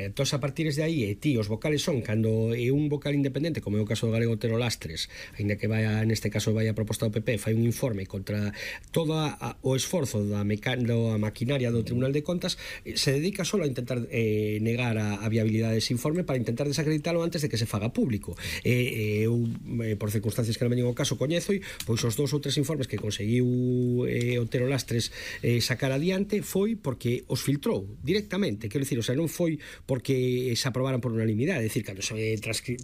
Entón, a partir de aí, ti, os vocales son, cando é un vocal independente, como é o caso do galego Otero Lastres, ainda que neste caso vai a proposta do PP, fai un informe contra todo o esforzo da maquinaria do Tribunal de Contas, se dedica só a intentar negar a viabilidade dese informe para intentar desacreditalo antes de que se faga público. Eu, por circunstancias que non veñen ao caso, coñezo, pois os 2 ou 3 informes que conseguiu Otero Lastres sacar adiante foi porque os filtrou directamente, quero dicir, o sea, non foi porque se aprobaran por unanimidade, é dicir, cando se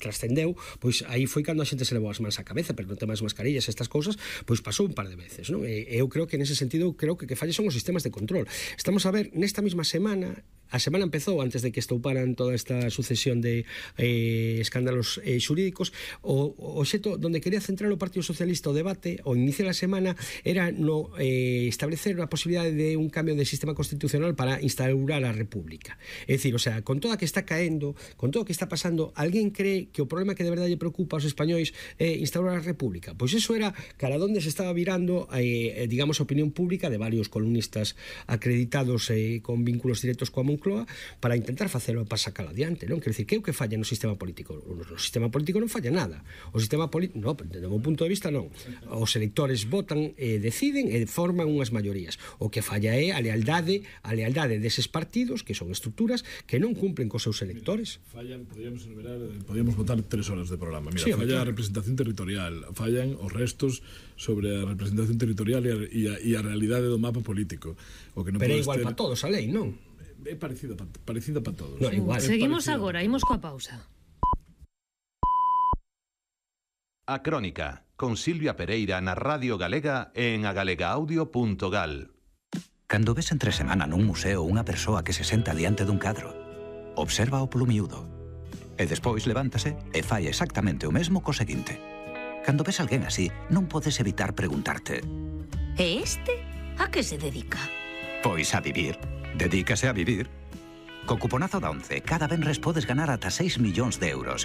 trascendeu, pois aí foi cando a xente se levou as mans á cabeza, pero non tema das mascarillas, estas cousas, pois pasou un par de veces, non? Eu creo que nese sentido, creo que falles son os sistemas de control. Estamos a ver, nesta mesma semana, a semana empezou antes de que estouparan toda esta sucesión de escándalos xurídicos, o xeto donde quería centrar o Partido Socialista o debate, o inicio da semana, era no establecer a posibilidade de un cambio de sistema constitucional para instaurar a República. É dicir, o sea, con toda que está caendo, con todo o que está pasando, alguén cree que o problema que de verdade lle preocupa aos españois é instaurar a República? Pois eso era cara donde se estaba virando, digamos, a opinión pública de varios columnistas acreditados con vínculos directos coa Moncloa para intentar facelo para sacar adiante, non? Quero dicir, que é o que falla no sistema político? O sistema político non falla nada. O sistema político, non, desde o meu punto de vista non. Os electores votan, deciden e forman unhas maiorías. O que falla é a lealdade deses partidos, que son estruturas que non cumplen cos seus electores. Fallan, podíamos votar 3 horas de programa. Mira, sí, falla a representación territorial, fallan os restos sobre a representación territorial e a realidade do mapa político. O que non pero é igual para todos a lei, non? É parecida para todos. No, igual. Seguimos agora, imos coa pausa. A Crónica, con Silvia Pereira na Radio Galega e en agalegaaudio.gal. Cando ves entre semana nun museo unha persoa que se senta diante dun cadro, observa o polo miúdo e despois levántase e fai exactamente o mesmo co seguinte. Cando ves alguén así, non podes evitar preguntarte: e este a que se dedica? Pois a vivir. Dedícase a vivir. Co cuponazo da ONCE, cada venres podes ganar ata 6 millóns de euros.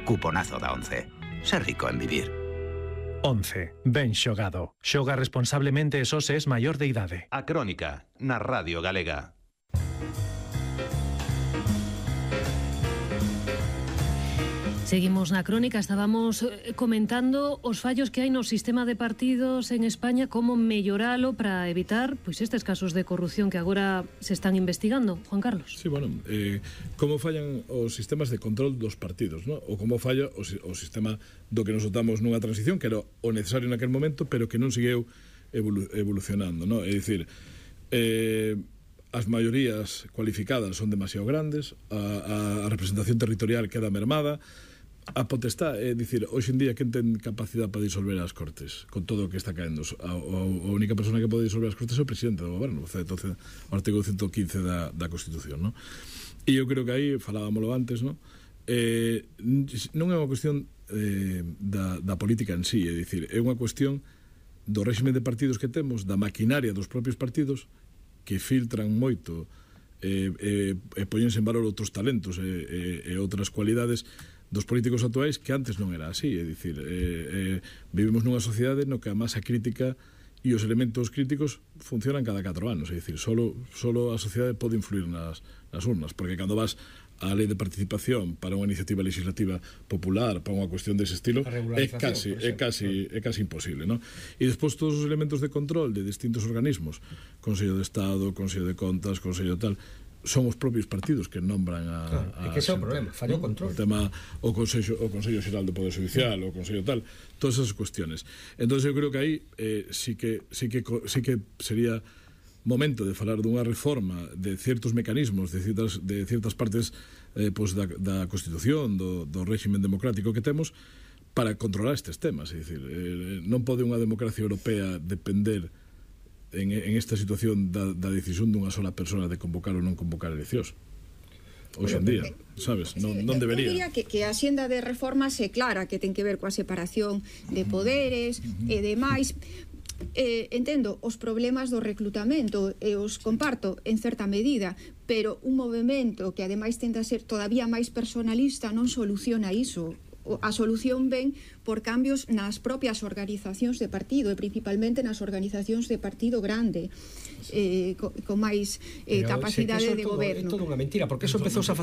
Cuponazo da ONCE. Ser rico en vivir. 11. Ben xogado. Xoga responsablemente e só se es maior de idade. A Crónica, na Radio Galega. Seguimos na Crónica, estábamos comentando os fallos que hai no sistema de partidos en España, como melloralo para evitar pois estes casos de corrupción que agora se están investigando. Juan Carlos. Sí, bueno, como fallan os sistemas de control dos partidos, ¿no? Ou como falla o sistema do que nos dotamos nunha transición, que era o necesario naquel momento, pero que non seguiu evolucionando, ¿no? É dicir, as maiorías cualificadas son demasiado grandes, a representación territorial queda mermada, a potestad, é dicir, hoxe en día quen ten capacidade para disolver as Cortes con todo o que está caendo? A única persona que pode disolver as Cortes é o presidente do goberno, o artigo 115 da Constitución, ¿no? E eu creo que aí, falábamoslo antes, ¿no? Non é unha cuestión da política en sí, é dicir, é unha cuestión do réxime de partidos que temos, da maquinaria dos propios partidos que filtran moito e poñense en valor outros talentos e outras cualidades dos políticos actuais que antes non era así, é dicir, vivimos nunha sociedade no que a masa crítica e os elementos críticos funcionan cada 4 anos, é dicir, solo a sociedade pode influir nas urnas, porque cando vas a lei de participación para unha iniciativa legislativa popular, para unha cuestión dese estilo, é casi imposible, ¿no? E despois todos os elementos de control de distintos organismos, Consello de Estado, Consello de Contas, Consello tal, son os propios partidos que nombran é que ese é o problema, falla o control. O tema, o Consello Xeral do Poder Judicial, o Consello tal, todas esas cuestiones. Entonces eu creo que aí sí que sería momento de falar dunha reforma de certos mecanismos, de ciertas partes pues da Constitución, do régimen democrático que temos, para controlar estes temas. É dicir, non pode unha democracia europea depender en esta situación da decisión dunha sola persona de convocar ou non convocar eleccións. Hoxe en día, sabes, non debería. Eu diría que a xenda de reformas é clara, que ten que ver coa separación de poderes e demais. Entendo os problemas do reclutamento e os comparto en certa medida, pero un movemento que ademais tende a ser todavía máis personalista non soluciona iso. A solución ven por cambios nas propias organizacións de partido e principalmente nas organizacións de partido grande, con máis capacidade de goberno. É todo unha mentira, porque eso empezou a facer